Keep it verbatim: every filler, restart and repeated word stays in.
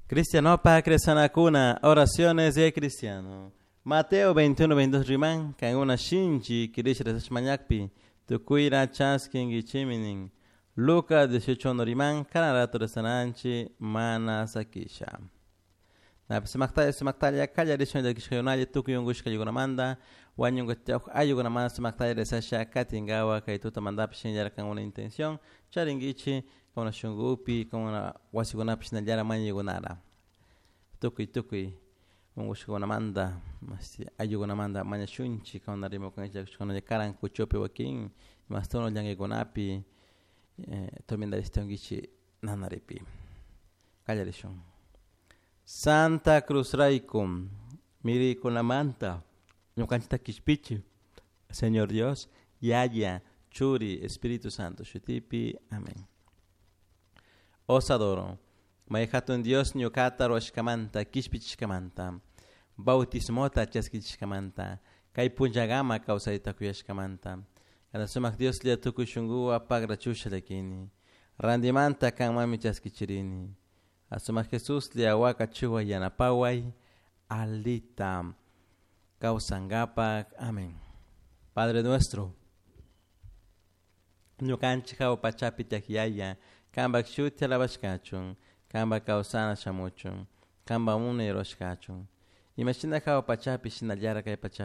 Cristianopa rezanakuna, oraciones de cristiano. Mateo veintiuno, veintidós riman, kankuna shinchi kirisha rezashmañakpi, tukuyra chaskinkichiminin. Lucas dieciocho uno riman, kana rato rezananchi mana sakisha. Napi sumaktalla, sumaktalla, kallarishun llakishkayunalla, tukuy unkushkaykunamanta, wañunkuchawk ayukunamanta sumaktalla rezasha katinkawa kay tutamantapish shinallara kankuna intención charinkichik kankuna shunkupi, kankuna wasikunapi shinallara mañaykunara. Tukuy, tukuy unkushkakunamanta, mashti ayukunamanta mañashunchik, kankuna rimakunchik llakishkakunalla karan kuchupi wakin, imastuno llankaykunapi, eh, tormentarishtunkichik nanaripi. Kallarishun. Santa Cruz rayku, mirikunamanta, ñukanchikta kishpichi, Señor Dios, Yaya, Churi, Espíritu Santo, shutipi, amén. Os adoro, may hatun Dios ñukata ruwashkamanta, kishpichishkamanta, bautismota chaskichishkamanta, kay punllakama kawsayta kuyashkamanta, kana sumak Dios lla tukuy shunkuwa pagrachusha llakini, randimanta kanmanmi chaskichirini, asumak Jesús lla wakachuwa yanapaway, alita kawsankapak, amén. Padre nuestro, ñukanchik hawa pachapi tiyak yaya, kanpak shuti alabashkachun, kanpak kawsana shamuchun, kanpak munay rurashkachun, imashina hawa pachapi shinallara kay pachapi.